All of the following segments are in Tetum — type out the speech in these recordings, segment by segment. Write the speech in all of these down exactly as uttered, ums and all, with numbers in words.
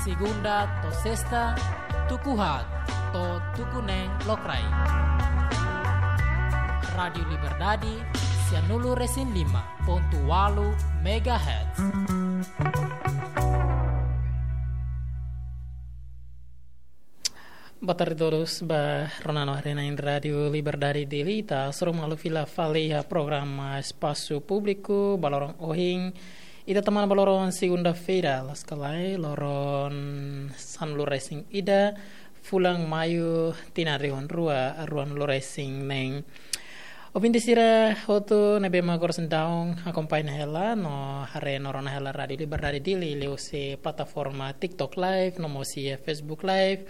Segunda to'o sesta, tuku haat to'o tuku neen lokraik. Rádiu Liberdade, sia nulu resin lima pontu ualu megahertz. Boa tarde todos, ba rona no haree-na'in Rádiu Liberdade Dili, ita hasoru malu fila fali iha programa Espasu Públiku ba loron ohin. Ita tama ona ba loron segunda-feira, loos ka lae, loron sanulu resin ida, fulan Maiu, tinan rihun rua, ruanulu resin neen. Ouvinte sira hotu ne'ebé mak oras daudaun akompaña hela no haree no rona hela Rádiu Liberdade Dili liuhusi plataforma TikTok Live, no mós iha Facebook Live.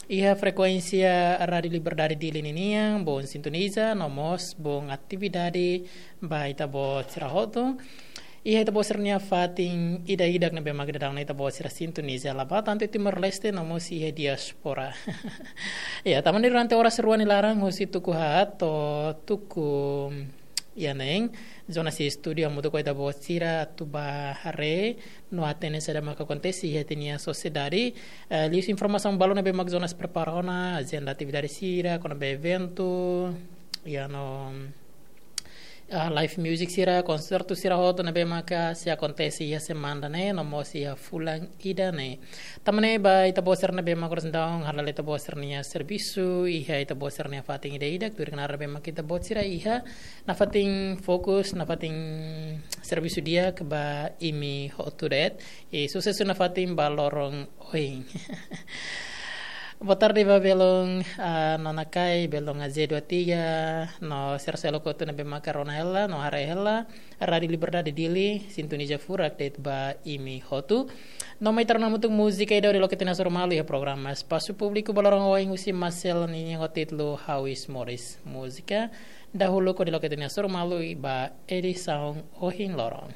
Iha frekuénsia Rádiu Liberdade Dili ninian, bom sintoniza, no mós bom atividade ba ita-boot sira hotu. Iha ita-boot sira-nia fatin ida-idak ne'ebé mak daudaun ita-boot sira sintoniza, la bá tantu Timor-Leste, no mós iha diáspora. Ya, tama ona durante oras rua nia laran, husi tuku haat to'o tuku iha neen. Jonas iha estúdiu hamutuk ho ita-boot sira atu bá haree no hatene saida mak akontese iha ita-nia sosiedade. Eh, liuhusi informasaun balun ne'ebé mak Jonas prepara ona, ajenda atividade sira, kona-ba eventu, ya no, ah, live music sira, konsertu sira hotu ne'ebé maka sei akontese iha semana ne'e, no mós iha fulan ida ne'e. Tama ona ba ita-boot sira ne'ebé mak oras daudaun hala'o ita-boot sira-nia servisu, iha ita-boot sira-nia fatin ida-idak, tuir knaar ne'ebé mak ita-boot sira iha, nafatin fokus, nafatin servisu di'ak ba imi hotu de'it. I susesu nafatin ba loron ohin. Boa tarde ba belun, ah, Nona Kai, belun A Z dua tiga, no sira seluk hotu ne'ebé maka rona hela, no haree hela Rádiu Liberdade Dili, sintoniza furak de'it ba imi hotu. No mai ita rona hamutuk múzika ida hodi loke ita-nia hasoru malu iha programa Espasu Públiku ba loron ohin, husi Marcel ninia ho títulu Ha'u Iis Moris. Múzika dahuluk hodi loke ita-nia hasoru malu ba edisaun ohin loron.